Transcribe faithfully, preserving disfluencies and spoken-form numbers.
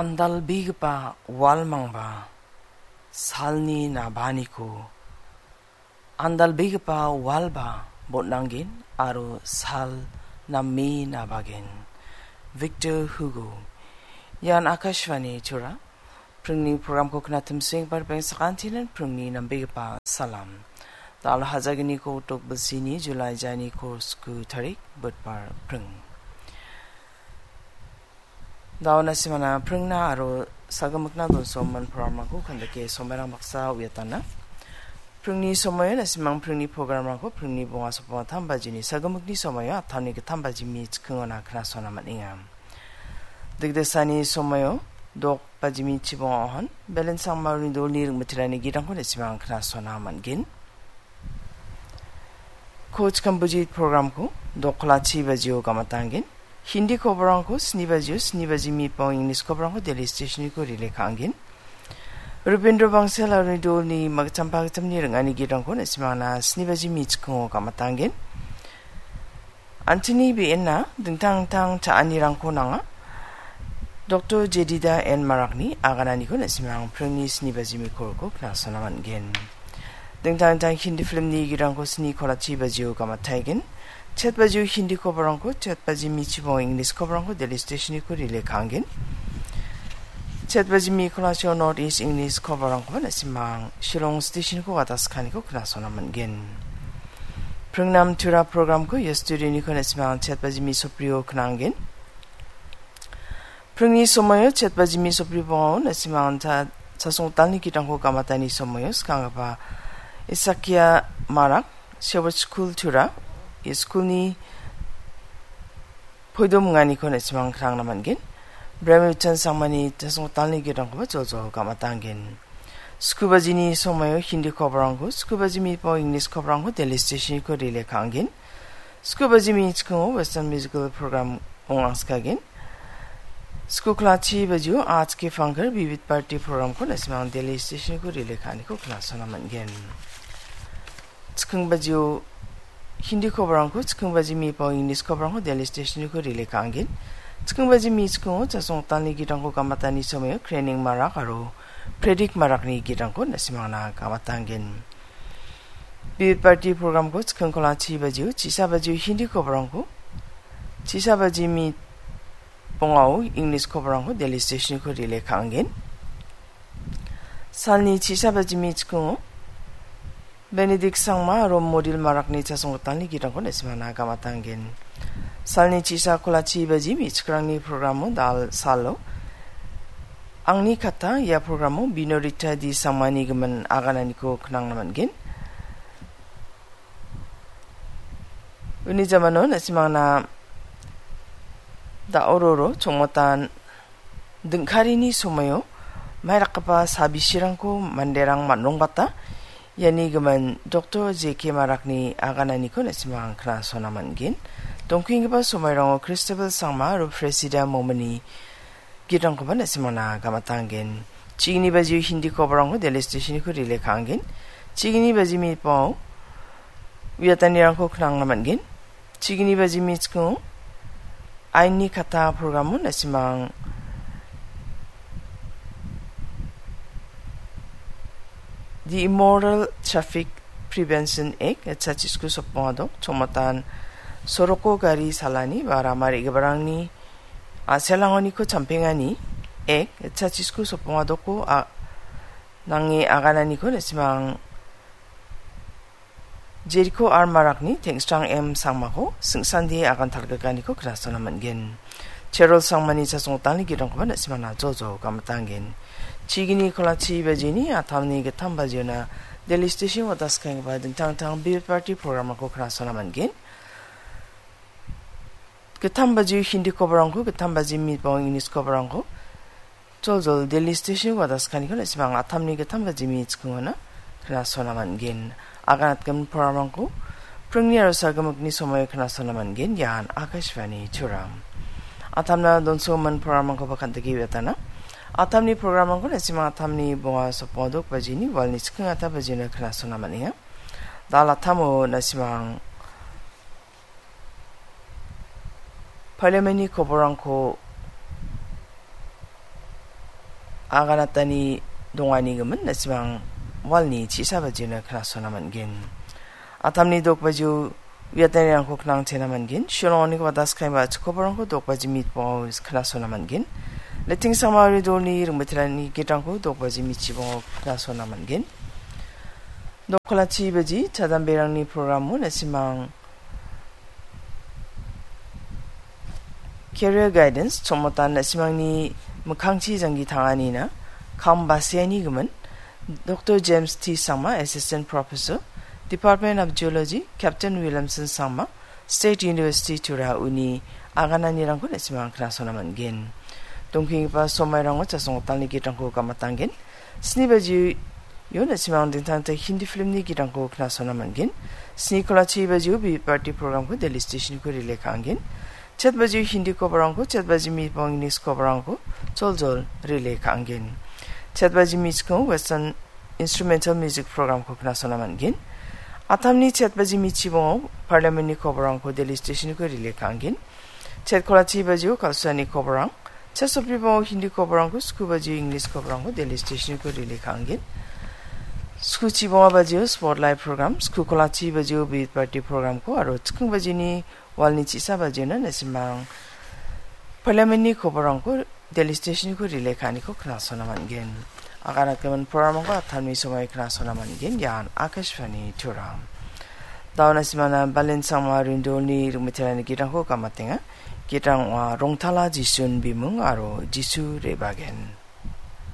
Andalbegipa walmangba salni nabaniko, andalbegipa walba botnanggen aro sal name nabagen. Victor Hugo. Ian Akashvani Tura. Pringni programko knatimseng bar beng sakantinan pringni nambegipa salam. Dal hajaginiko tok bilsini July jaini ko sku tarik, Budbar pring. Dauna simana pringna aro sagimikna donsoman programrangko kandake somairang baksa uiatana. Pringni somoio nasimang pringni programrangko pringni bonga sopong atam bajini sagimikni somoio atamni gitam bajimi chikingona knasona man·enga. Digdesani somoio dok bajimi chibonga ohon, Belen Sangmaruni dolni ringmitirani girangko nasimang knasona man·gen. Coach Kambujit programko dokla chi bajio gamatanggen. Hindi koborangko sni bajio, sni baji mipao English koborangko Delhi Stationiko rile ka·anggen. Rubindra Bangsal aro dolni magittam pagittamni ring·ani girangko nasimangna sni baji michikongo gamatanggen. Antini be·enna dingtang dingtang cha·anirangko nanga. Doktor Jedida N Marakni agananiko nasimang pringni sni baji mikolko knasona man·gen. Dingtang dingtang Hindi filmni girangko sni kolachi bajio gamataigen. Chet bajio Hindi koborangko, chet baji michibo English koborangko Delhi Stationiko rile ka·anggen. Chet baji mi kolachio North East English koborangko nasimang Shillong Stationiko wataskaniko knasona man·gen. Pringnam Tura programko ia studioniko nasimang chet baji mi soprio knanggen. Pringni somoio chet baji mi sopri bongao nasimang ta chasong talni gitrangko gamatani somoio skanggipa Isakia Marak, Shepherd School Tura, ia skulni poidom minganiko nasimang krangna man·gen. Brahma Vichan Sangmani chasong talni gitrangkoba joljol gamatanggen. Skubajini somoio Hindi koborangko, skubajimi po English koborangko Delhi Stationiko rile ka·anggen. Skubajimi chikongo Western Musical Program ong·angskagen. Skukla chi bajio H K Funkar Vivid Party Programko nasimang Delhi Stationiko rile ka·aniko knasona man·gen. Chiking bajio Hindi koborangko, chiking bajimi po English koborangko Delhi Stationiko rile ka·anggen. Chiking bajimi chikongo chasong talni gitrangko gamatani somoio Krening Marak aro Predik Marakni gitrangko nasimangna gamatanggen. Vivid Party programko chiking kola chi bajio, chisa bajio Hindi koborangko, chisa bajimi bongao English koborangko Delhi Stationiko rile ka·anggen. Salni chisa bajimi chikongo Benedict Sangma aro Modil Marakni chasong gitalni gitrangko nasimangna gamatanggen. Salni chisa kola chi bajimi chikrangni programo dal salo Angni kata ia programo Binorita D Sangmani gimin agananiko knangna man·gen. Uni jamano nasimangna da·ororo chongmotan dingkarini somoio mairakgipa sabisirangko manderang man·rongbata iani gimin Doktor J K Marakni agananiko nasimang knasona man·gen. Dongkenggipa somairango Christabel Sangma aro Presida Momini gitrangkoba nasimangna gamatanggen. Chigni bajio Hindi koborangko Delhi Stationiko rile ka·anggen. Chigni bajimi po uiatanirangko knangna man·gen. Chigni bajimi chikongo Ainni kata programo nasimang The Immoral Traffic Prevention Act, etsa chisku sopong adok, chongmotan soroko gari salani ba rama re·giparangni a·selangoniko champengani ek, etsa chisku sopong adoko a-, nange agananiko nasimang Jeriko R Marakni Tengsrang M Sangmako singsandie agan talgikaniko knasona man·gen. Cherol Sangmani chasong gitalni gitrangkoba nasimangna jojo gamitanggen. Chigni kola chi bajini atamni gitam bajiona Delhi Station wataskenggipa dingtang dingtang Bill Party programrangko knasona man·gen. Gitam bajio Hindi koborangko, gitam bajio mitbang English koborangko, joljol Delhi Station wataskangko nasimang atamni gitam bajimi chikingona knasona man·gen. Aganatgimin programrangko pringni aro sagimikni somoio knasona man·gen. Ian Akashvani Choram. Atamna donsogimin programrangkoba kandake uiatana. Atamni programrangko nasimang atamni bonga sopong adok bajini walni chiking ata bajina knasona man·enga. Dal atamo nasimang Parliamentni koborangko aganatani dongani gimin na·simang walni chisa bajiona knasona man·gen. Atamni dok bajio uiatanirangko knangchena man·gen. Shillongni gita skaiba chikobarangko dok baji mitbongo knasona man·gen. Letting sama ridolni ringmeterani gitrangko dok baji mitchibongo knasona man·gen. Dokolachi baji chadamberangni programo na·simang Career Guidance, chongmotan na·simangni mikkangchi janggi tanganina kam baseani gimin, Doctor James T Sangma, Assistant Professor, Department of Geology, Captain Williamson Sangma, State University Tura uni agananirangko na·simang knasona man·gen. Dongkenggipa somairango chasonggotalni gitrangko gamatangen. Sni bajio na·simang dingtang dingtang Hindi filmni gitrangko knasona man·gen. Sni kolachi bajio Vividh Bharati programko Delhi Stationko relay ka·angen. Chet bajio Hindi kobarangko, chet baji mitbong English kobarangko joljol relay ka·angen. Chet baji mitchikongo Western Instrumental Music programko knasona man·gen. Atamni chet baji mitchibongo Parliamentni kobarangko Delhi Stationko relay ka·angen. Chet kolachi bajio Kalsuani kobarang, chet sopibongo Hindi kobarangko, sku bajio English kobarangko Delhi Stationko relay ka·angen. Sku chibonga bajio Spotlight program, sku kolachi bajio Vividh Bharati programko aro chiking bajini walni chisa bajiona na·simang Parliamentni kobarangko Delhi Stationko relay ka·aniko knasona man·gen. Aganatgimin programrangko atamni somai knasona man·gen. Ian Akashvani Tura. Dauna simana Balin Sangma Rindolni ringmeterani gitrangko gamatenga. Gitrang ong·a Rongtala Jisun Bimung aro Jisu Rebagen.